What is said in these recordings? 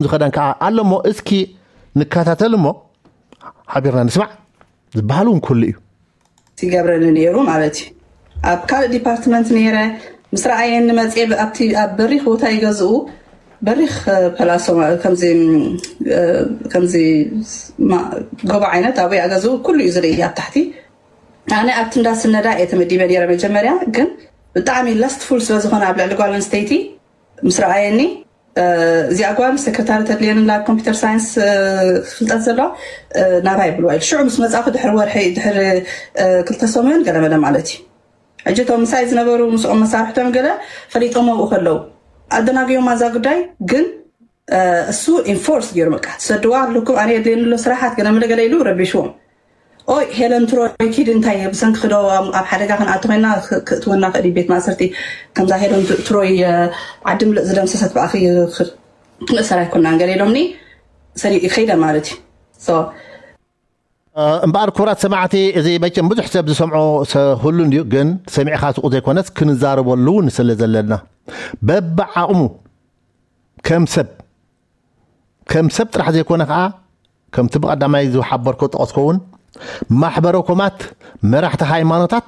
ዝኸዳን ከዓ ኣሎ እሞ፣ እስኪ ንከታተል እሞ ሓቢርና ንስማዕ። ዝበሃል እውን ኩሉ እዩ። ይገብረኒ ነይሩ ማለት እዩ። ኣብ ካልእ ዲፓርትመንት ነይረ። ምስ ረኣየኒ መፅየ፣ ኣብቲ ኣብ በሪኽ ቦታ ይገዝኡ፣ በሪኽ ፐላሶ፣ ከምዚ ጎቦ ዓይነት ኣብኡ ገዝኡ ኩሉ እዩ ዝርኢ ኣብ ታሕቲ። ኣነ ኣብቲ እንዳስነዳ እየ ተመዲበ ነይረ መጀመርያ፣ ግን ብጣዕሚ ላስትፉል ስለዝኾነ ኣብ ልዕሊ ጓል ኣንስተይቲ ምስ ረኣየኒ፣ እዚኣ ጓል ሰክረታሪ ተድልየን ላ ኮምፒተር ሳይንስ ፍልጠት ዘለዋ ናባይ ብልዋ ኢሉ ሽዑ ምስ መፃኹ ድሕሪ ወርሒ ድሕሪ ክልተ ሰሙን ገለመለ ማለት እዩ። ሕጂ እቶም ምሳይ ዝነበሩ ምስኦም መሳርሕቶም ገለ ፈሊጦም ኣብኡ ከለዉ ኣደናግዮም ማዛ ጉዳይ ግን እሱ ኢንፎርስ ገይሩ በቃ ትሰድዋ ኣለኩም ኣነ የድልየኒ ኣሎ ስራሓት ገለመለ ገለ ኢሉ ረቢሽዎም። ኦይ ሄለን ትሮይ ኪድ እንታይ ብሰንኪ ክዶ ኣብ ሓደጋ ክንኣቱ ኮይና ክእትወና ክእል ቤት ማእሰርቲ። ከምዛ ሄለን ትሮይ ዓዲ ምልእ ዝደምሰሰት ብኣኺ ክንእሰር ኣይኮናን ገለ ኢሎምኒ። ሰሪኡ ይኸይደ ማለት እዩ። እምበኣር ክቡራት ሰማዕቲ፣ እዚ መቸም ብዙሕ ሰብ ዝሰምዖ ሁሉ እንድዩ፣ ግን ሰሚዕካ ስቁ ዘይኮነስ ክንዛረበሉ እውን ስለ ዘለና በብዓቕሙ ከም ሰብ ከም ሰብ ጥራሕ ዘይኮነ ከዓ ከምቲ ብቐዳማይ ዝሓበርኮ ጠቐስኮ እውን ማሕበረኮማት መራሕቲ ሃይማኖታት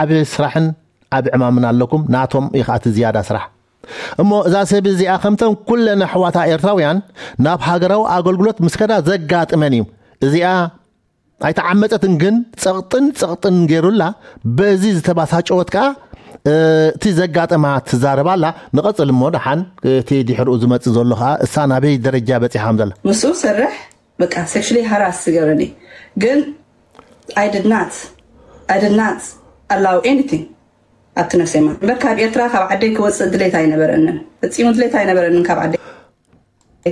ዓብ ስራሕን ዓብ ዕማምን ኣለኩም። ናቶም እዩ ከዓ እቲ ዝያዳ ስራሕ። እሞ እዛ ሰብ እዚኣ ከምተን ኩለን ኣሕዋታ ኤርትራውያን ናብ ሃገራዊ ኣገልግሎት ምስ ከዳ ዘጋጥመን እዩ። እዚኣ ኣይተዓመፀትን፣ ግን ፀቕጥን ፀቕጥን ገይሩላ በዚ ዝተባሳጨወት ከዓ እቲ ዘጋጠማ ትዛረባላ። ንቐፅል እሞ ደሓን እቲ ድሕርኡ ዝመፅእ ዘሎ ከዓ እሳ ናበይ ደረጃ በፂሓም ዘላ ምስኡ ሰርሕ በቃ ሴክሽሊ ሃራስ ዝገብረኒ ግን I did not I did not allow anything ኣብቲ ነፍሰይ ማለት እምበር ካብ ኤርትራ ካብ ዓደይ ክወፅእ ድሌት ኣይነበረንን። ፈፂሙ ድሌት ኣይነበረንን ካብ ዓደይ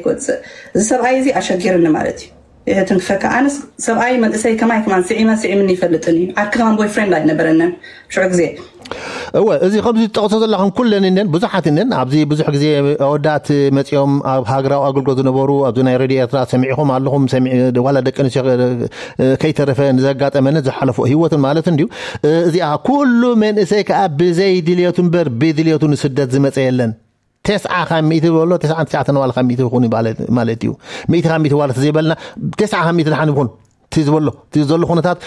ክወፅእ። እዚ ሰብኣይ እዚ ኣሸጊርኒ ማለት እዩ። ይህትን ክፈካ ኣነስ ሰብኣይ መንእሰይ ከማይ ከማን ስዒመ ስዒምኒ ይፈልጥን እዩ። ዓርኪ ከማን ቦይፍሬንድ ኣይነበረንን ሽዑ ግዜ። እወ እዚ ከምዚ ትጠቕሶ ዘለኹም ኩለን እነን ብዙሓት እነን ኣብዚ ብዙሕ ግዜ ኣወዳት መፂኦም ኣብ ሃገራዊ ኣገልግሎት ዝነበሩ ኣብዚ ናይ ሬድዮ ኤርትራ ሰሚዕኹም ኣለኹም። ዋላ ደቂ ኣንስትዮ ከይተረፈ ንዘጋጠመን ዝሓለፎ ህይወትን ማለት እንድዩ። እዚኣ ኩሉ መንእሰይ ከዓ ብዘይ ድልየቱ እምበር ብድልየቱ ንስደት ዝመፀ የለን። ተስዓ ካብ ሚእቲ ዝበሎ ተስዓን ትሽዓተን ዋላ ካብ ሚእቲ ይኹን ማለት እዩ። ሚእቲ ካብ ሚእቲ ዋላ ተዘይበልና ተስዓ ካብ ሚእቲ ድሓን ይኹን እቲ ዝበሎ እቲ ዘሎ ኩነታት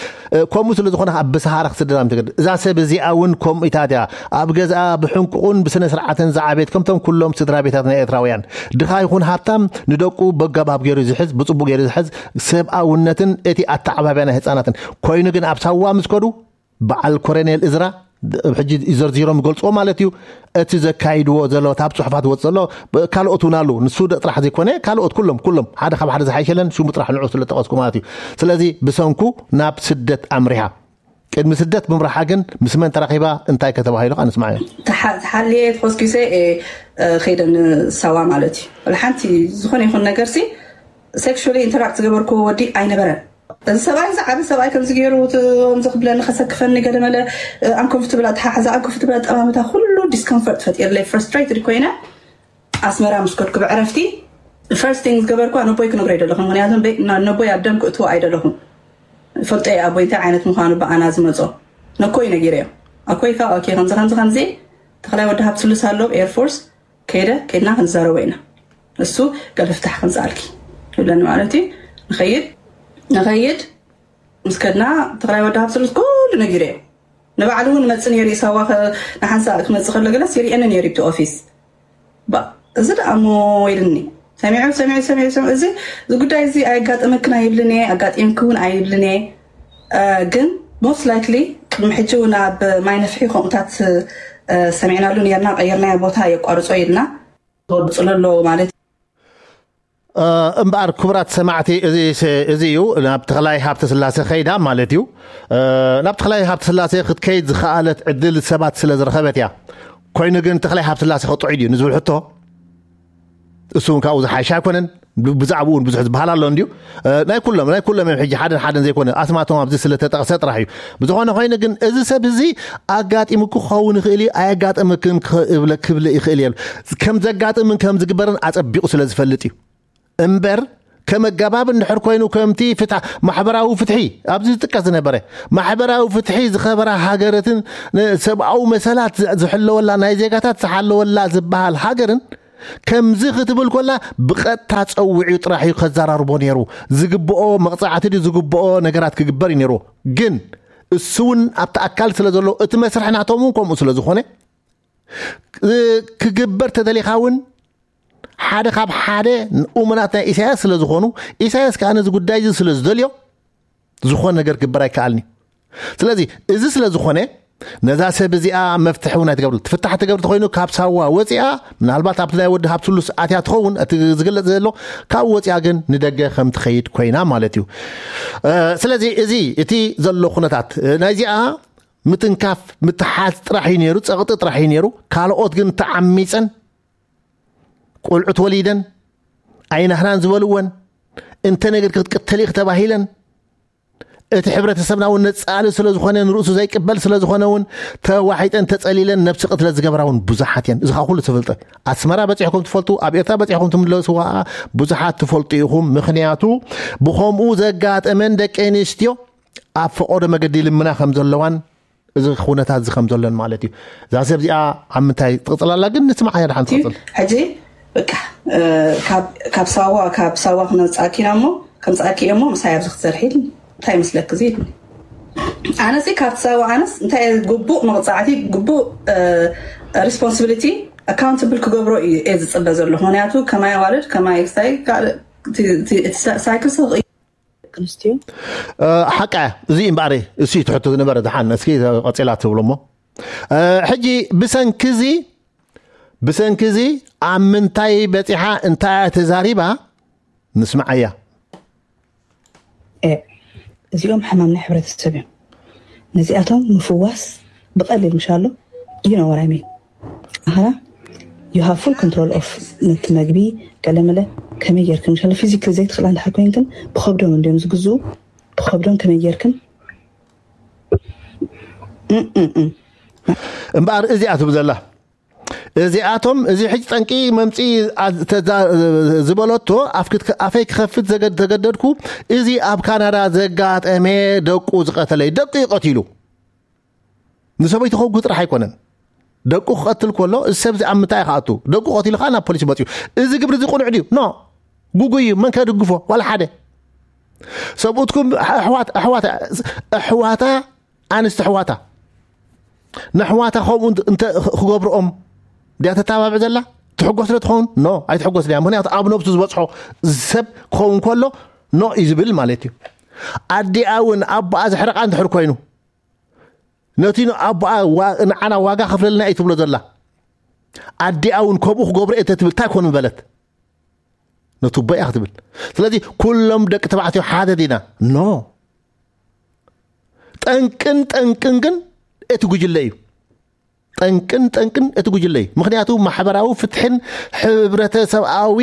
ከምኡ ስለ ዝኾነ ከዓ ብሰሃራ ክስደዳ ምትገድ እዛ ሰብ እዚኣ እውን ከምኡ ኢታት እያ። ኣብ ገዝኣ ብሕንቁቑን ብስነ ስርዓትን ዝዓበየት ከምቶም ኩሎም ስድራ ቤታት ናይ ኤርትራውያን ድኻ ይኹን ሃብታም ንደቁ በጋባብ ገይሩ ዝሕዝ ብፅቡቅ ገይሩ ዝሕዝ ሰብኣውነትን እቲ ኣተዓባብያ ናይ ህፃናትን ኮይኑ ግን ኣብ ሳዋ ምስ ከዱ በዓል ኮረኔል እዝራ ሕጂ ዘርዚሮም ይገልፅዎ ማለት እዩ። እቲ ዘካይድዎ ዘለዎት ኣብ ፅሑፋት ወፅ ዘሎ ካልኦት እውን ኣለዉ። ንሱ ጥራሕ ዘይኮነ ካልኦት ኩሎም ኩሎም ሓደ ካብ ሓደ ዝሓይሸለን ሽሙ ጥራሕ ንዑ ስለ ጠቐስኩ ማለት እዩ። ስለዚ ብሰንኩ ናብ ስደት ኣምሪሃ። ቅድሚ ስደት ብምርሓ ግን ምስ መን ተራኺባ እንታይ ከተባሂሉ ኣንስማዮ። ተሓልየ ተኾስኪሰ ከይደ ንሳዋ ማለት እዩ። ሓንቲ ዝኾነ ይኹን ነገር ሲ ሴክሹሊ ኢንተራክት ዝገበርክዎ ወዲ ኣይነበረን። እዚ ሰብኣይ እዚ ዓቢ ሰብኣይ ከምዚ ገይሩ ከምዚ ክብለኒ ከሰክፈኒ ገለመለ ኣንኮንፍትብል ኣተሓሕዛ ኣንኮንፍትብል ኣጠማምታ ኩሉ ዲስኮምፈርት ፈጢርለይ ፍረስትሬትድ ኮይነ ኣስመራ ምስ ከድኩ ብዕረፍቲ ፈርስት ቲንግ ዝገበርኳ ነቦይ ክነግሮ ኣይደለኹም ምክንያቱ ነቦይ ኣብ ደም ክእትዎ ኣይደለኹም ፈልጠ ኣቦይ እንታይ ዓይነት ምዃኑ ብኣና ዝመፆ ነኮይ ነጊረዮ ኣኮይ ካብ ኦኬ ከምዚ ከምዚ ከምዚ ተኽላይ ወዲ ሃብ ስሉስ ኣሎ ኤርፎርስ ከይደ ከይድና ክንዛረቦ ኢና እሱ ገለ ፍታሕ ከምፅኣልኪ ይብለኒ ማለት እዩ ንኸይድ ንኸይድ ምስ ከድና ተኽላይ ወዲ ሃብ ስሉስ ኩሉ ነጊረዮ ንባዕሉ እውን መፅ ነይሩ ይሳዋ ንሓንሳ ክመፅእ ከሎ ገለስ ይርእየኒ ነይሩ ይብቲ ኦፊስ እዚ ደኣ እሞ ኢልኒ ሰሚዑ ሰሚዑ ሰሚዑ ሰሚዑ እዚ እዚ ጉዳይ እዚ ኣየጋጠመክን ኣይብልን እየ ኣጋጢምኪ እውን ኣይብልን እየ ግን ሞስት ላይክሊ ቅድሚ ሕጂ እውን ኣብ ማይ ነፍሒ ከምኡታት ሰሚዕናሉ ነርና ቀይርናዮ ቦታ የቋርጾ ኢልና ተወድፅሎ ኣለዎ ማለት እምበኣር ክቡራት ሰማዕቲ እዚ እዩ ናብ ተኽላይ ሃብተ ስላሴ ከይዳ ማለት እዩ። ናብ ተኽላይ ሃብተ ስላሴ ክትከይድ ዝኸኣለት ዕድል ሰባት ስለ ዝረኸበት እያ። ኮይኑ ግን ተኽላይ ሃብተ ስላሴ ከጥዑይ ድዩ ንዝብል ሕቶ እሱ እውን ካብኡ ዝሓይሽ ኣይኮነን። ብዛዕባኡ እውን ብዙሕ ዝበሃል ኣሎ እንድዩ ናይ ኩሎም ናይ ኩሎም እዮም ሕጂ ሓደን ሓደን ዘይኮነ ኣስማቶም ኣብዚ ስለተጠቕሰ ጥራሕ እዩ። ብዝኾነ ኮይኑ ግን እዚ ሰብ እዚ ኣጋጢሙ ክኸውን ይኽእል እዩ ኣየጋጥምክን ክብል ይኽእል እየ ከም ዘጋጥምን ከም ዝግበርን ኣጸቢቑ ስለ ዝፈልጥ እዩ። እምበር ከም ኣገባብ እንድሕር ኮይኑ ከምቲ ፍትሕ ማሕበራዊ ፍትሒ ኣብዚ ዝጥቀስ ዝነበረ ማሕበራዊ ፍትሒ ዝኸበራ ሃገረትን ሰብኣዊ መሰላት ዝሕለወላ ናይ ዜጋታት ዝሓለወላ ዝበሃል ሃገርን ከምዚ ክትብል ኮላ ብቐጥታ ጸዊዑ ጥራሕ እዩ ከዘራርቦ ነይሩ። ዝግብኦ መቕጻዕቲ ድዩ ዝግብኦ ነገራት ክግበር እዩ ነይሩ። ግን እሱ እውን ኣብቲ ኣካል ስለ ዘሎ እቲ መስርሕ ናቶም እውን ከምኡ ስለ ዝኾነ ክግበር ተደሊኻ እውን ሓደ ካብ ሓደ እሙናት ናይ ኢሳያስ ስለ ዝኾኑ ኢሳያስ ከዓ ነዚ ጉዳይ እዚ ስለ ዝደልዮ ዝኾነ ነገር ክግበር ኣይከኣልን እዩ። ስለዚ እዚ ስለ ዝኾነ ነዛ ሰብ እዚኣ መፍትሒ እውን ኣይትገብርሉ። ትፍታሕ ትገብር ተኮይኑ ካብ ሳዋ ወፂኣ ምናልባት ኣብቲ ናይ ወዲ ሃብትሉስ ኣትያ ትኸውን እቲ ዝግለፅ ዘሎ ካብ ወፂኣ ግን ንደገ ከም ትኸይድ ኮይና ማለት እዩ። ስለዚ እዚ እቲ ዘሎ ኩነታት ናይዚኣ ምትንካፍ ምትሓዝ ጥራሕ እዩ ነይሩ፣ ፀቕጢ ጥራሕ እዩ ነይሩ። ካልኦት ግን ተዓሚፀን ቆልዑት ወሊደን ኣይናህናን ዝበልወን እንተ ነገር ክትቅተል ኢኽ ተባሂለን እቲ ሕብረተሰብና እውን ነጻሊ ስለ ዝኾነ ንርእሱ ዘይቅበል ስለ ዝኾነ እውን ተዋሒጠን ተጸሊለን ነብሲ ቅትለት ዝገብራ እውን ብዙሓት እየን። እዚ ከዓ ኩሉ ተፈልጠ። ኣስመራ በጺሕኩም ትፈልጡ፣ ኣብ ኤርትራ በጺሕኩም ትምለስዋ ብዙሓት ትፈልጡ ኢኹም። ምኽንያቱ ብኸምኡ ዘጋጠመን ደቂ ኣንስትዮ ኣብ ፈቐዶ መገዲ ልምና ከም ዘለዋን እዚ ኩነታት እዚ ከም ዘሎን ማለት እዩ። እዛ ሰብ እዚኣ ኣብ ምንታይ ትቕጽል ኣላ ግን ንስማዓ እያ ደሓን ትቕጽል። ሕጂ በቃ ካብ ሳዋ ካብ ሳዋ ክነምጻእኪ ኢና እሞ ከምጻእኪ እሞ ምሳይ ኣብዚ ክትሰርሒ እንታይ ይመስለኪ እዚ ኢልኒ። ኣነሲ ካብቲ ሳዋ ኣነስ እንታይ ግቡእ መቕጻዕቲ ግቡእ ሪስፖንሲቢሊቲ ኣካውንታብል ክገብሮ እዩ እየ ዝጽበ ዘለኹ። ምክንያቱ ከማይ ኣዋልድ ከማይ ክሳይ ሳይክል ስቕ ኣንስትዮ ሓቃ እዚ እምበኣር እሱ ትሕቶ ዝነበረ ድሓን እስኪ ቀፂላ ትብሎ እሞ ሕጂ ብሰንኪ እዚ ብሰንኪ እዚ ኣብ ምንታይ በፂሓ እንታይ ተዛሪባ ንስምዓያ። እዚኦም ሕማም ናይ ሕብረተሰብ እዮም። ነዚኣቶም ምፍዋስ ብቐሊል ምሻሎ you know what I mean ኣኸና you have full control of ነቲ መግቢ ገለመለ ከመይ ጌርክን ምሻሎ ፊዚክሊ ዘይትኽእላ እንድሕር ኮይንክን ብኸብዶም እንዲዮም ዝግዝኡ ብኸብዶም ከመይ ጌርክን እምበኣር እዚኣ ትብል ዘላ እዚኣቶም እዚ ሕጂ ጠንቂ መምፂ ዝበለቶ ኣፈይ ክኸፍት ተገደድኩ። እዚ ኣብ ካናዳ ዘጋጠመ ደቁ ዝቐተለ ደቁ ይቐቲሉ ንሰበይቱ ከጉ ጥራሕ ኣይኮነን። ደቁ ክቐትል ከሎ እዚ ሰብዚ ኣብ ምንታይ ክኣቱ ደቁ ቀቲሉ ከዓ ናብ ፖሊስ መፅዩ። እዚ ግብሪ እዚ ቁኑዕ ድዩ? ኖ ጉጉይ እዩ። መን ከድግፎ ዋላ ሓደ ሰብኡትኩም ኣሕዋት ኣሕዋት ኣሕዋታ ኣንስቲ ኣሕዋታ ነሕዋታ ከምኡ እንተ ክገብርኦም ድያ ተተባብዕ ዘላ ትሕጎስ ዶ ትኸውን? ኖ ኣይትሕጎስ ድያ። ምክንያቱ ኣብ ነብሱ ዝበፅሖ ሰብ ክኸውን ከሎ ኖ እዩ ዝብል ማለት እዩ። ኣዲኣ እውን ኣቦኣ ዘሕረቃ እንድሕር ኮይኑ ነቲ ኣቦኣ ንዓና ዋጋ ከፍለልና እዩ ትብሎ ዘላ ኣዲኣ እውን ከምኡ ክገብሮ እየ ተትብል እንታይ ኮን ምበለት? ነቲ ኣቦ እያ ክትብል። ስለዚ ኩሎም ደቂ ተባዕትዮ ሓደ ዲና? ኖ። ጠንቅን ጠንቅን ግን እቲ ጉጅለ እዩ። ጠንቅን ጠንቅን እቲ ጉጅለ እዩ። ምክንያቱ ማሕበራዊ ፍትሕን ሕብረተሰብኣዊ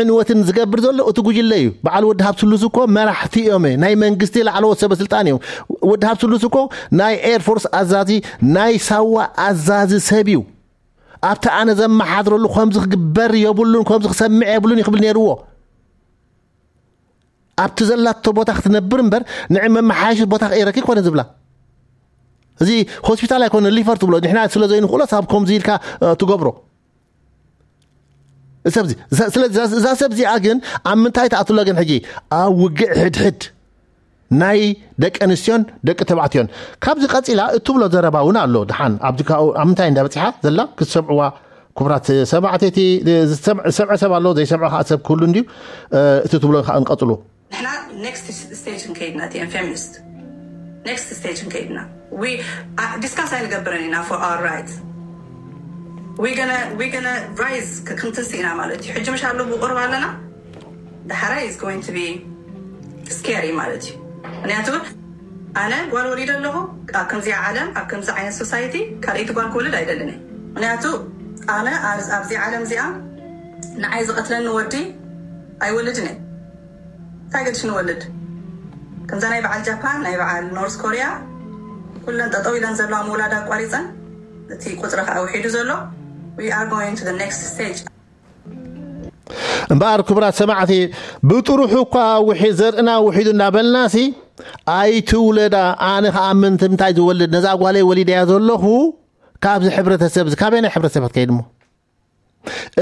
ዕንወትን ዝገብር ዘሎ እቲ ጉጅለ እዩ። በዓል ወዲ ሃብትሉስ እኮ መራሕቲ እዮም፣ ናይ መንግስቲ ላዕለዎት ሰበ ስልጣን እዮም። ወዲ ሃብትሉስ እኮ ናይ ኤርፎርስ ኣዛዚ ናይ ሳዋ ኣዛዚ ሰብ እዩ። ኣብቲ ኣነ ዘመሓድረሉ ከምዚ ክግበር የብሉን ከምዚ ክሰምዕ የብሉን ይክብል ነይርዎ። ኣብቲ ዘላቶ ቦታ ክትነብር እምበር ንዕ መመሓየሺ ቦታ ክእረኪ ኮነ ዝብላ እዚ ሆስፒታል ኣይኮነ ሊፈር ትብሎ ንሕና ስለ ዘይንክእሎ ሳብ ከምዚ ኢልካ ትገብሮ። ስለዚ እዛ ሰብ እዚኣ ግን ኣብ ምንታይ ተኣትሎ ግን ሕጂ ኣብ ውግእ ሕድሕድ ናይ ደቂ ኣንስትዮን ደቂ ተባዕትዮን ካብዚ ቀፂላ እትብሎ ዘረባ እውን ኣሎ። ድሓን ኣብዚ ኣብ ምንታይ እንዳበፂሓ ዘላ ክትሰምዕዋ ክቡራት ሰማዕቲ እቲ ዝሰምዐ ሰብ ኣሎ ዘይሰምዐ ከዓ ሰብ ክህሉ እንድዩ። እቲ ትብሎ ከዓ ንቀፅሉ። ንሕና ኔክስት ስቴጅ ንከይድና እቲ ፌሚኒስት ኔክስት ስቴጅ ንከይድና ዲስካስ ኣይንገብርን ኢና for our right we gonna rise ክንትንስ ኢና ማለት እዩ። ሕጂ ምሽ ኣሎ ብቁርብ ኣለና ዳሕራይ is going to be scary ማለት እዩ። ምክንያቱ ኣነ ጓል ወሊደ ኣለኹ ኣብ ከምዚኣ ዓለም ኣብ ከምዚ ዓይነት society ካልኣይቲ ጓል ክወልድ ኣይደልን እየ። ምክንያቱ ኣነ ኣብዚ ዓለም እዚኣ ንዓይ ዝቐትለኒ ወዲ ኣይወልድን እየ። እንታይ ገድሽ ንወልድ ከምዛ ናይ በዓል ጃፓን ናይ በዓል ኖርዝ ኮሪያ ኩለን ጠጠው ኢለን ዘለዋ ምውላድ ኣቋሪፀን እቲ ቁፅሪ ከዓ ውሒዱ ዘሎ we are going to the next stage። እምበኣር ክቡራት ሰማዕቲ ብጥሩሑ እኳ ውሒ ዘርእና ውሒዱ እንዳበልናሲ ኣይትውለዳ። ኣነ ከዓ ምንትምታይ ዝወልድ ነዛ ጓለይ ወሊደያ ዘለኹ ካብዚ ሕብረተሰብ እዚ ካበይ ናይ ሕብረተሰብ ከይድ እሞ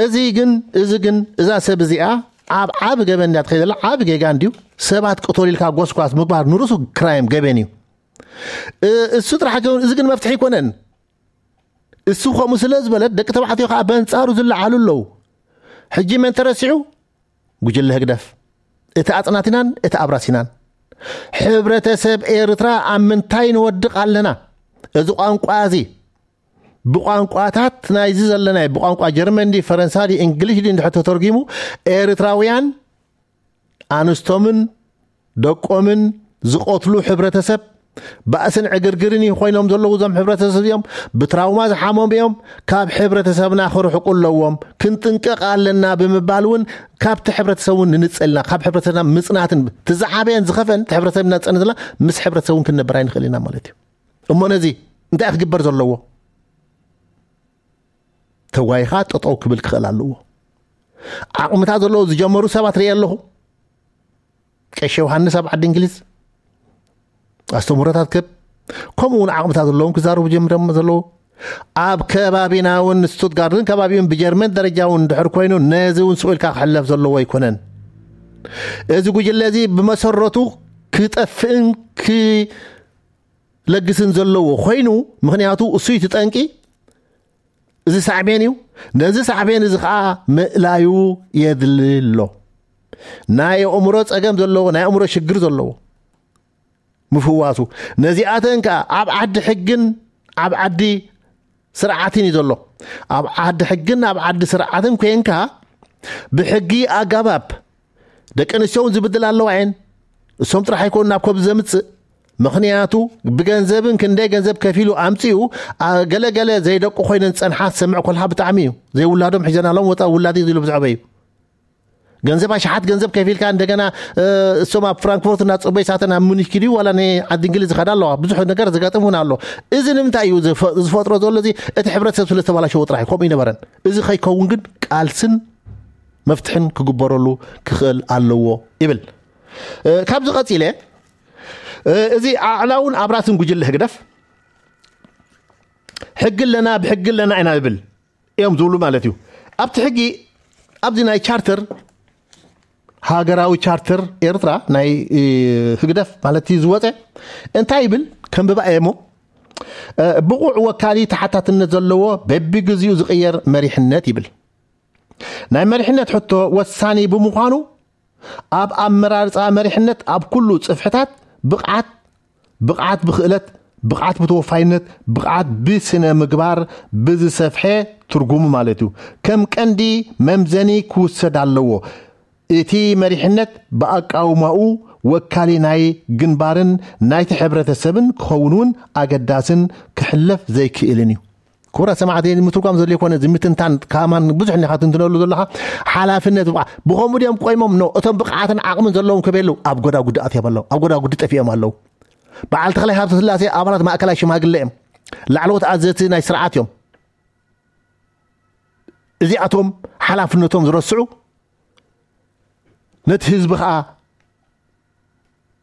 እዚ ግን እዚ ግን እዛ ሰብ እዚኣ ኣብ ዓብ ገበን እንዳ ትኸይደላ ዓብ ጌጋ እንዲዩ። ሰባት ቅቶል ኢልካ ጎስኳስ ምግባር ንርሱ ክራይም ገበን እዩ። እሱ ጥራሕ ግን እዚ ግን መፍትሒ ኣይኮነን። እሱ ከምኡ ስለ ዝበለት ደቂ ተባዕትዮ ከዓ በንጻሩ ዝለዓሉ ኣለዉ። ሕጂ መን ተረሲዑ? ጉጅለ ህግደፍ። እቲ ኣጽናቲናን እቲ ኣብራሲናን። ሕብረተሰብ ኤርትራ ኣብ ምንታይ ንወድቕ ኣለና? እዚ ቋንቋ እዚ ብቋንቋታት ናይዚ ዘለናይ ብቋንቋ ጀርመን ዲ ፈረንሳ ዲ እንግሊሽ ዲ እንድሕር ተተርጊሙ ኤርትራውያን ኣንስቶምን ደቆምን ዝቆትሉ ሕብረተሰብ ባእስን ዕግርግርን ይኾይኖም ዘለዉ እዞም ሕብረተሰብ እዮም። ብትራውማ ዝሓመሙ እዮም። ካብ ሕብረተሰብና ክርሕቁ ኣለዎም። ክንጥንቀቕ ኣለና ብምባል እውን ካብቲ ሕብረተሰብ እውን ንንጸልና ካብ ሕብረተሰብና ምጽናትን ትዝዓበየን ዝኸፈን ሕብረተሰብና ዝጸንትና ምስ ሕብረተሰብ እውን ክንነብር ኣይንኽእል ኢና ማለት እዩ። እሞ ነዚ እንታይ ክግበር ዘለዎ? ተዋይኻ ጠጠው ክብል ክኽእል ኣለዎ። ዓቕምታት ዘለዎ ዝጀመሩ ሰባት ርኢ ኣለኹ። ቀሺ ዮሃንስ ኣብ ዓዲ እንግሊዝ ኣስተምህሮታት ክህብ፣ ከምኡ እውን ዓቕምታት ዘለዎም ክዛረቡ ጀምሮም ዘለዉ። ኣብ ከባቢና እውን ስቱትጋርትን ከባቢውን ብጀርመን ደረጃ እውን ድሕር ኮይኑ ነዚ እውን ስቕ ኢልካ ክሕለፍ ዘለዎ ኣይኮነን። እዚ ጉጅለ እዚ ብመሰረቱ ክጠፍእን ክለግስን ዘለዎ ኮይኑ፣ ምኽንያቱ እሱ እዩ እቲ ጠንቂ። እዚ ሳዕቤን እዩ። ነዚ ሳዕቤን እዚ ከዓ ምእላዩ የድሊ ኣሎ። ናይ ኣእምሮ ጸገም ዘለዎ ናይ ኣእምሮ ሽግር ዘለዎ ምፍዋሱ፣ ነዚኣተን ከዓ ኣብ ዓዲ ሕግን ኣብ ዓዲ ስርዓትን እዩ ዘሎ። ኣብ ዓዲ ሕግን ኣብ ዓዲ ስርዓትን ኮንካ ብሕጊ ኣጋባብ ደቂ ኣንስትዮ እውን ዝብድል ኣለዋ እየን። እሶም ጥራሕ ኣይኮኑ ናብ ኮብ ዘምጽእ። ምኽንያቱ ብገንዘብን ክንደይ ገንዘብ ከፊሉ ኣምጺኡ፣ ኣ፣ ገለገለ ዘይደቁ ኮይነን ዝጸንሓ ዝሰምዕ ኮልካ ብጣዕሚ እዩ። ዘይውላዶም ሒዘናሎም ወጻ ውላድ እዩ ዝብሉ ብዛዕባ እዩ። ገንዘብ ኣሽሓት ገንዘብ ከፊልካ እንደገና፣ እ፣ እሶም ኣብ ፍራንክፎርት እናጸበዩ ሳተን ኣብ ሙኒክ ኪዱ ዋላ ናይ ዓዲ እንግሊዝ ዝኸዳ ኣለዋ። ብዙሕ ነገር ዘጋጥም እውን ኣሎ። እዚ ንምንታይ እዩ ዝፈ-፣ ዝፈጥሮ ዘሎ? እዚ እቲ ሕብረተሰብ ስለ ዝተባላሸወ ጥራሕ እዩ። ከምኡ ይነበረን። እዚ ከይከውን ግን ቃልስን መፍትሕን ክግበረሉ ክኽእል ኣለዎ ይብል። እ፣ ካብዚ ቀጺለ፣ እ፣ እዚ ኣዕላውን ኣብራስን ጉጅለ ህግደፍ ሕጊ ኣለና፣ ብሕጊ ኣለና ኢና ይብል እዮም ዝብሉ ማለት እዩ። ኣብቲ ሕጊ፣ ኣብዚ ናይ ቻርተር፣ ሃገራዊ ቻርተር ኤርትራ ናይ፣ እ፣ ህግደፍ ማለት እዩ ዝወፀ፣ እንታይ ይብል? ከንብባ እየ እሞ፣ እ፣ ብቑዕ ወካሊ ተሓታትነት ዘለዎ በቢግዚኡ ዝቕየር መሪሕነት ይብል። ናይ መሪሕነት ሕቶ ወሳኒ ብምዃኑ፣ ኣብ ኣመራርጻ መሪሕነት ኣብ ኩሉ ጽፍሕታት ብቕዓት፣ ብቕዓት ብኽእለት፣ ብቕዓት ብተወፋይነት፣ ብቕዓት ብስነ ምግባር ብዝሰፍሐ ትርጉሙ ማለት እዩ፣ ከም ቀንዲ መምዘኒ ክውሰድ ኣለዎ። እቲ መሪሕነት ብኣቃውማኡ ወካሊ ናይ ግንባርን ናይቲ ሕብረተሰብን ክኸውን እውን ኣገዳስን ክሕለፍ ዘይክእልን እዩ። ክቡራት ሰማዕቲ፣ ምትርጓም ዘድልዮ ኮነ፣ እዚ ምትንታን ካማን ብዙሕ እንዲኻ ትንትነሉ ዘለኻ። ሓላፍነት ብቕዓ-፣ ብኸምኡ ድዮም ቆይሞም? ኖ፣ እቶም ብቕዓትን ዓቕምን ዘለዎም ከበየለዉ ኣብ ጎዳጉዲ ኣትዮም ኣለዉ፣ ኣብ ጎዳጉዲ ጠፊኦም ኣለዉ። በዓል ተኽላይ ሃብተ ስላሴ ኣባላት ማእከላይ ሽማግለ እዮም፣ ላዕለዎት ኣዘዝቲ ናይ ስርዓት እዮም። እዚኣቶም ሓላፍነቶም ዝረስዑ፣ ነቲ ህዝቢ ኸዓ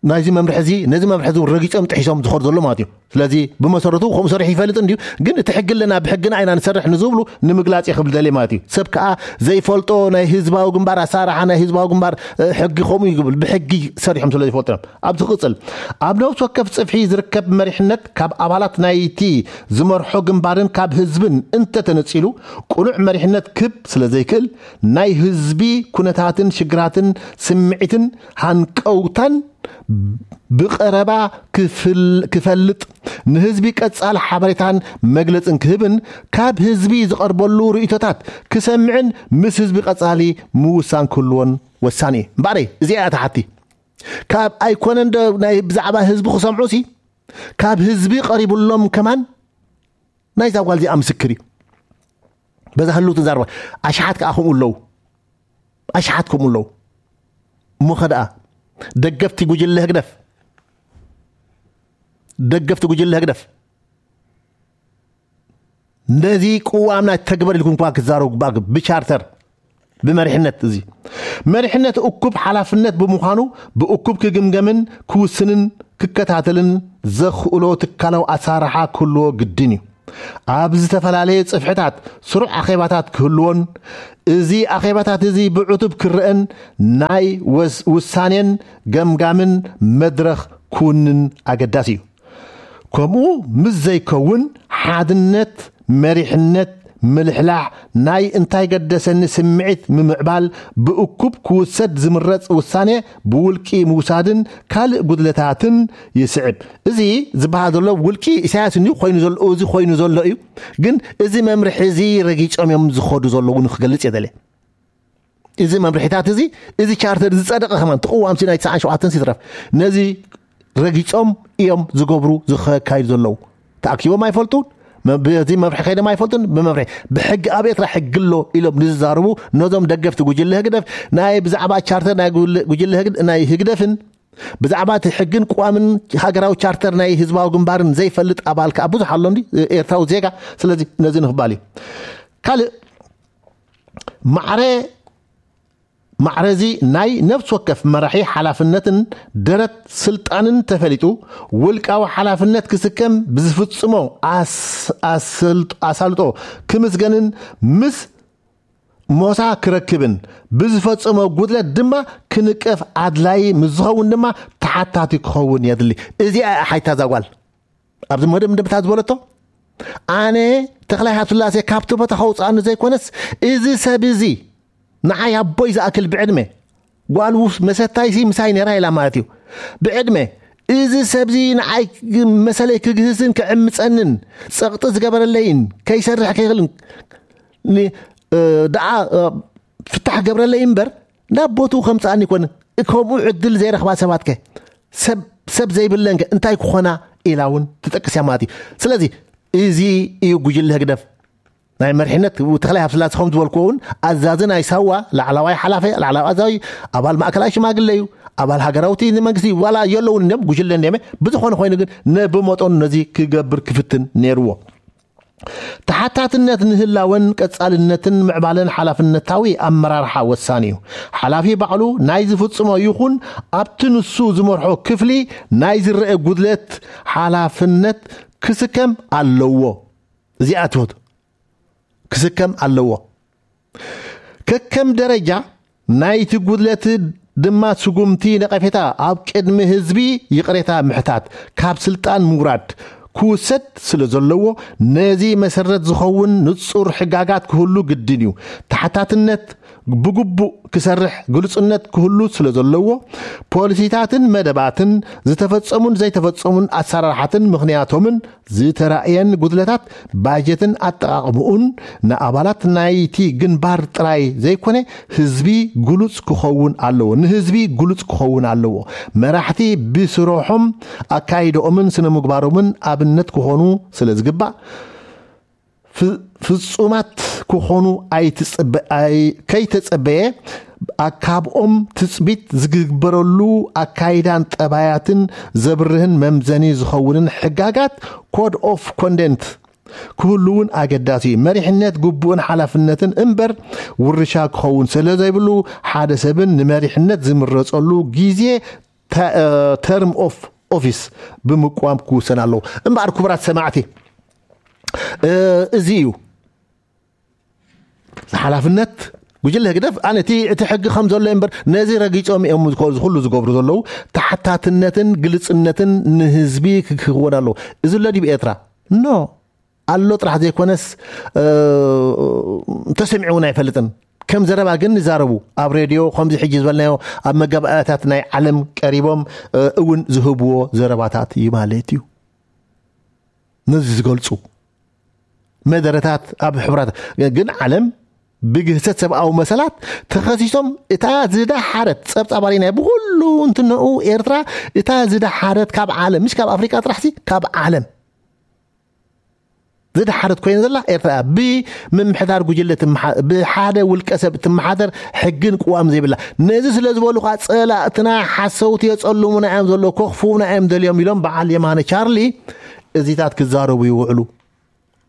ናይዚ መምርሒ እዚ፣ ነዚ መምርሒ እዚ ረጊጾም ጥሒሶም ዝኸዱ ዘሎ ማለት እዩ። ስለዚ ብመሰረቱ ከምኡ ሰሪሑ ይፈልጥ እንድዩ፣ ግን እቲ ሕጊ ኣለና፣ ብሕግና ኢና ንሰርሕ ንዝብሉ ንምግላጽ እየ ክብል ደልየ ማለት እዩ። ሰብ ከኣ ዘይፈልጦ ናይ ህዝባዊ ግንባር ኣሰራርሓ፣ ናይ ህዝባዊ ግንባር፣ እ፣ ሕጊ ከምኡ እዩ ክብል፣ ብሕጊ ሰሪሖም ስለ ዘይፈልጡ እዮም። ኣብዚ ክቕጽል፣ ኣብ ነፍሲ ወከፍ ጽፍሒ ዝርከብ መሪሕነት ካብ ኣባላት ናይቲ ዝመርሖ ግንባርን ካብ ህዝብን እንተተነጺሉ፣ ቅኑዕ መሪሕነት ክብ ስለ ዘይክእል፣ ናይ ህዝቢ ኩነታትን ሽግራትን ስምዒትን ሃንቀውታን ብቐረባ ክፍል-፣ ክፈልጥ፣ ንህዝቢ ቀጻሊ ሓበሬታን መግለጽን ክህብን፣ ካብ ህዝቢ ዝቐርበሉ ርእይቶታት ክሰምዕን ምስ ህዝቢ ቀጻሊ ምውሳን ክህልዎን ወሳኒ እዩ። እምበኣረይ፣ እዚኣ እያ እታ ሓቲ። ካብ ኣይኮነን ዶ ናይ ብዛዕባ ህዝቢ ክሰምዑ ሲ፣ ካብ ህዝቢ ቀሪቡሎም ከማን ናይዛ ጓል እዚኣ ምስክር እዩ። በዛ ህልውቲ ዘረባ ኣሽሓት ከኣ ከምኡ ኣለዉ። ኣሽሓት ከምኡ ኣለዉ። እሞ ኸ ደኣ ደገፍቲ ጉጅለ ህግደፍ፣ ደገፍቲ ጉጅለ ህግደፍ ነዚ ቅዋምና ተግበር ኢልኩም እኳ ክትዛረቡ ግባእ። ብቻርተር፣ ብመሪሕነት፣ እዚ መሪሕነት እኩብ ሓላፍነት ብምዃኑ ብእኩብ ክግምገምን ክውስንን ክከታተልን ዘኽእሎ ትካላዊ ኣሰራርሓ ክህልዎ ግድን እዩ። ኣብ ዝተፈላለየ ጽፍሕታት ስሩዕ ኣኼባታት ክህልዎን፣ እዚ ኣኼባታት እዚ ብዕቱብ ክረአን ናይ ወስ-፣ ውሳኔን ገምጋምን መድረኽ ክውንን ኣገዳሲ እዩ። ከምኡ ምስ ዘይከውን፣ ሓድነት፣ መሪሕነት፣ ምልሕላሕ፣ ናይ እንታይ ገደሰኒ ስምዒት ምምዕባል፣ ብእኩብ ክውሰድ ዝምረጽ ውሳኔ ብውልቂ ምውሳድን ካልእ ጉድለታትን ይስዕብ። እዚ ዝበሃል ዘሎ ውልቂ ኢሳያስ እንዲዩ ኮይኑ ዘሎ፣ እዚ ኮይኑ ዘሎ እዩ። ግን እዚ መምርሒ እዚ ረጊጾም እዮም ዝኸዱ ዘለዉ ንክገልጽ እየ ደልየ። እዚ መምርሒታት እዚ፣ እዚ ቻርተር ዝጸደቐ ከማን ተቕዋምሲ ናይ ትስዓን ሸውዓተን ሲትረፍ ነዚ ረጊጾም እዮም ዝገብሩ ዝኸካይዱ ዘለዉ። ተኣኪቦም ኣይፈልጡን፣ መ-፣ በዚ መምርሒ ከይዶም ኣይፈልጡን። ብመምርሒ ብሕጊ ኣብ ኤርትራ ሕጊ ኣሎ ኢሎም ንዝዛረቡ ነዞም ደገፍቲ ጉጅለ ህግደፍ ናይ ብዛዕባ ቻርተር ናይ ጉል-፣ ጉጅለ ህግድ-፣ ናይ ህግደፍን ብዛዕባ እቲ ሕግን ቅዋምን ሃገራዊ ቻርተር ናይ ህዝባዊ ግንባርን ዘይፈልጥ ኣባል ከኣ ብዙሕ ኣሎ እንዲ ኤርትራዊ ዜጋ። ስለዚ ነዚ ንኽባል እዩ። ካልእ ማዕረ ማዕረዚ ናይ ነፍስ ወከፍ መራሒ ሓላፍነትን ደረት ስልጣንን ተፈሊጡ ውልቃዊ ሓላፍነት ክስከም ብዝፍጽሞ ኣስ-፣ ኣስልጥ-፣ ኣሳልጦ ክምስገንን ምስ ሞሳ ክረክብን ብዝፈጸሞ ጉድለት ድማ ክንቀፍ ኣድላይ ምስ ዝኸውን ድማ ተሓታቲ ክኸውን የድሊ። እዚኣ እያ ሓይታ እዛ ጓል። ኣብዚ መደምደምታ ዝበለቶ፣ ኣነ ተኽላይ ሃብተስላሴ ካብቲ ቦታ ከውፅኣኒ ዘይኮነስ፣ እዚ ሰብ እዚ ንዓይ ኣቦይ ዝኣክል ብዕድመ፣ ጓል ውስ-፣ መሰታይሲ ምሳይ ነይራ ኢላ ማለት እዩ። ብዕድመ እዚ ሰብዚ ንዓይ መሰለይ ክግህስን ክዕምፀንን፣ ፀቕጢ ዝገበረለይን ከይሰርሕ ከይኽልን ን-፣ እ፣ ደኣ፣ እ፣ ፍታሕ ገብረለይ እምበር ናብ ቦትኡ ከምፅኣኒ ይኮነ። ከምኡ ዕድል ዘይረኽባ ሰባት ከ፣ ሰብ፣ ሰብ ዘይብለን ከ እንታይ ክኾና ኢላ እውን ትጠቅስ እያ ማለት እዩ። ስለዚ እዚ እዩ ጉጅለ ህግደፍ ናይ መሪሕነት ተኽላይ ሃብተስላሴ ከም ዝበልኩዎ እውን ኣዛዚ ናይ ሳዋ፣ ላዕላዋይ ሓላፊ፣ ላዕላዊ ኣዛዚ፣ ኣባል ማእከላይ ሽማግለ እዩ፣ ኣባል ሃገራዊ እቲ መንግስቲ እዩ። ዋላ የለውን እንዲዮም፣ ጉጅለ እንዲዮም። ብዝኾነ ኮይኑ ግን ነ-፣ ብመጠኑ ነዚ ክገብር ክፍትን ነይርዎ። ተሓታትነት ንህላወን ቀጻልነትን ምዕባለን ሓላፍነታዊ ኣመራርሓ ወሳኒ እዩ። ሓላፊ ባዕሉ ናይ ዝፍጽሞ ይኹን ኣብቲ ንሱ ዝመርሖ ክፍሊ ናይ ዝረአ ጉድለት ሓላፍነት ክስከም ኣለዎ። እዚኣ ትሁት ክስከም ኣለዎ። ከከም ደረጃ ናይቲ ጉድለት ድማ ስጉምቲ ነቐፌታ ኣብ ቅድሚ ህዝቢ ይቕሬታ ምሕታት፣ ካብ ስልጣን ምውራድ ክውሰድ ስለ ዘለዎ፣ ነዚ መሰረት ዝኸውን ንጹር ሕጋጋት ክህሉ ግድን እዩ። ተሓታትነት ብግቡእ ክሰርሕ ግሉጽነት ክህሉ ስለ ዘለዎ፣ ፖሊሲታትን መደባትን፣ ዝተፈጸሙን ዘይተፈጸሙን ኣሰራርሓትን ምኽንያቶምን ዝተራእየን ጉድለታት ባጀትን ኣጠቓቕምኡን ንኣባላት ናይቲ ግንባር ጥራይ ዘይኮነ ህዝቢ ግሉጽ ክኸውን ኣለዎ፣ ንህዝቢ ግሉጽ ክኸውን ኣለዎ። መራሕቲ ብስርሖም ኣካይደኦምን ስነ ምግባሮምን ኣብነት ክኾኑ ስለ ዝግባእ፣ ፍ-፣ ፍጹማት ክኾኑ ኣይትጸበ-፣ ኣይ-፣ ከይተጸበየ፣ ኣካብኦም ትጽቢት ዝግበረሉ ኣካይዳን ጠባያትን ዘብርህን መምዘኒ ዝኸውንን ሕጋጋት፣ ኮድ ኦፍ ኮንደንት፣ ክህሉ እውን ኣገዳሲ እዩ። መሪሕነት ግቡእን ሓላፍነትን እምበር ውርሻ ክኸውን ስለ ዘይብሉ፣ ሓደ ሰብን ንመሪሕነት ዝምረጸሉ ግዜ፣ ተ-፣ እ፣ ተርም ኦፍ ኦፊስ ብምቋም ክውሰን ኣለዎ። እምበኣር ክቡራት ሰማዕቲ፣ እ፣ እዚ እዩ ሓላፍነት ጉጅለ ህግደፍ። ኣነ እቲ፣ እቲ ሕጊ ከም ዘሎ እምበር ነዚ ረጊጾም እዮም ዝኮ-፣ ዝኩሉ ዝገብሩ ዘለዉ። ተሓታትነትን ግልጽነትን ንህዝቢ ክክውን ኣለዎ። እዚ ኣሎ ድዩ ኤርትራ? ኖ። ኣሎ ጥራሕ ዘይኮነስ፣ እ፣ ተሰሚዑ እውን ኣይፈልጥን። ከም ዘረባ ግን ይዛረቡ። ኣብ ሬድዮ ከምዚ ሕጂ ዝበልናዮ ኣብ መጋባእያታት ናይ ዓለም ቀሪቦም፣ እ፣ እውን ዝህብዎ ዘረባታት እዩ ማለት እዩ። ነዚ ዝገልጹ መደረታት ኣብ ሕቡራት ግን ዓለም ብግህሰት ሰብኣዊ መሰላት ተኸሲሶም እታ ዝደሓረት ጸብጻባሪ ናይ ብኹሉ እንትነኡ ኤርትራ እታ ዝደሓረት ካብ ዓለም፣ ምሽ ካብ ኣፍሪቃ ጥራሕሲ ካብ ዓለም ዝደሓረት ኮይነ ዘላ ኤርትራ እያ። ብምምሕዳር ጉጅለ ትመሓ-፣ ብሓደ ውልቀ ሰብ ትመሓደር ሕግን ቅዋም ዘይብላ። ነዚ ስለ ዝበሉ ከዓ ጸላእትና ሓሰውቲ የጸልሙና እዮም ዘሎ፣ ከኽፍኡና እዮም ደልዮም ኢሎም በዓል የማነ ቻርሊ እዚታት ክዛረቡ ይውዕሉ።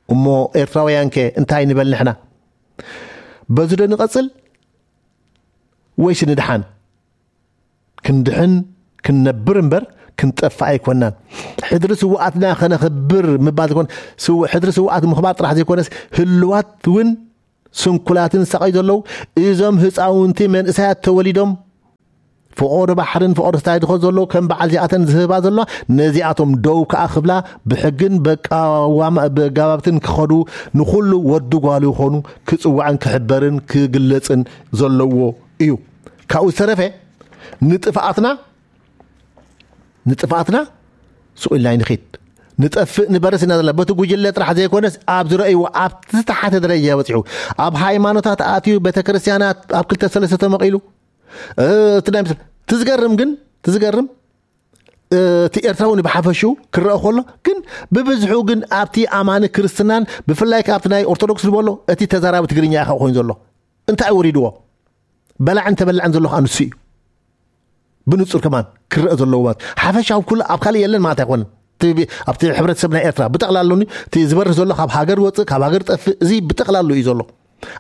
እሞ ኤርትራውያን ከ እንታይ ንበል ንሕና? በዚ ዶ ንቐጽል ወይስ ንድሓን? ክንድሕን ክንነብር እምበር ክንጠፍእ ኣይኮናን። ሕድሪ ስውኣትና ከነኽብር ምባል ዘይኮነ፣ ስው- ሕድሪ ስውኣት ምኽባር ጥራሕ ዘይኮነስ፣ ህልዋት እውን ስንኩላትን ሳቐይ ዘለዉ እዞም ህፃውንቲ መንእሰያት ተወሊዶም ፍቖዶ ባሕርን ፍቖዶ ስታይ ድኾ ዘለዉ ከም በዓል እዚኣተን ዝህባ ዘለዋ፣ ነዚኣቶም ደው ከኣ ክብላ ብሕግን በቃዋማ- በጋባብትን ክኸዱ፣ ንኹሉ ወዲ ጓሉ ይኾኑ ክጽዋዕን ክሕበርን ክግለጽን ዘለዎ እዩ። ካብኡ ዝተረፈ ንጥፍኣትና ንጥፍኣትና ስቕ ኢልና ንኺድ። ንጠፍእ ንበርስ ኢና ዘለና። በቲ ጉጅለ ጥራሕ ዘይኮነስ ኣብ ዝረእይዎ ኣብቲ ዝተሓተ ደረጃ በፂሑ፣ ኣብ ሃይማኖታት ኣትዩ፣ ቤተክርስትያናት ኣብ ክልተ ሰለስተ ተመቒሉ፣ እቲ ናይ ምስ- ትዝገርም ግን ትዝገርም እቲ ኤርትራዊ ብሓፈሽኡ ክረአ ከሎ ግን ብብዝሑ ግን ኣብቲ ኣማኒ ክርስትናን ብፍላይ ከኣ ኣብቲ ናይ ኦርቶዶክስ ዝበሎ እቲ ተዛራቢ ትግርኛ ኢኻ ኮይኑ ዘሎ። እንታይ ወሪድዎ? በላዕን ተበላዕን ዘሎ ከኣ ንሱ እዩ። ብንጹር ከማን ክረአ ዘለዎ ማለት ሓፈሻዊ ኩሉ ኣብ ካልእ የለን ማለት ኣይኮነን። እቲ ብ- ኣብቲ ሕብረተሰብ ናይ ኤርትራ ብጠቕላሉ እቲ ዝበርህ ዘሎ ካብ ሃገር ወፅእ ካብ ሃገር ጠፍእ እዚ ብጠቕላሉ እዩ ዘሎ።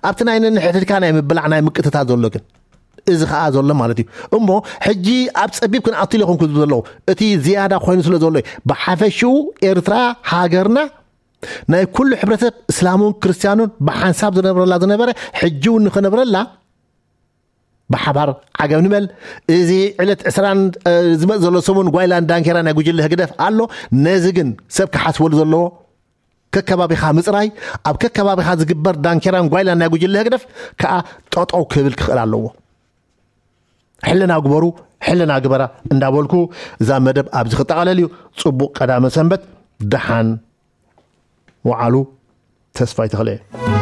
ኣብቲ ናይ ነንሕድካ ናይ ምብላዕ ናይ ምቅትታት ዘሎ ግን እዚ ከዓ ዘሎ ማለት እዩ። እሞ ሕጂ ኣብ ፀቢብ ክንኣቱ ኢለ ኮንኩ ዘለዉ እቲ ዝያዳ ኮይኑ ስለ ዘሎ እዩ። ብሓፈሽኡ ኤርትራ ሃገርና ናይ ኩሉ ሕብረተሰብ እስላሙን ክርስትያኑን ብሓንሳብ ዝነብረላ ዝነበረ ሕጂ እውን ንኽነብረላ ብሓባር ዓገብ ንበል። እዚ ዕለት ዕስራን ዝመፅ ዘሎ ሰሙን ጓይላን ዳንኬራ ናይ ጉጅለ ህግደፍ ኣሎ። ነዚ ግን ሰብ ክሓስበሉ ዘለዎ ከከባቢኻ ምፅራይ፣ ኣብ ከከባቢኻ ዝግበር ዳንኬራን ጓይላን ናይ ጉጅለ ህግደፍ ከዓ ጠጠው ክብል ክኽእል ኣለዎ። ሕልና ግበሩ፣ ሕልና ግበራ እንዳበልኩ እዛ መደብ ኣብዚ ክጠቓለል እዩ። ፅቡቕ ቀዳመ ሰንበት፣ ደሓን ወዓሉ። ተስፋይ ተኽለ።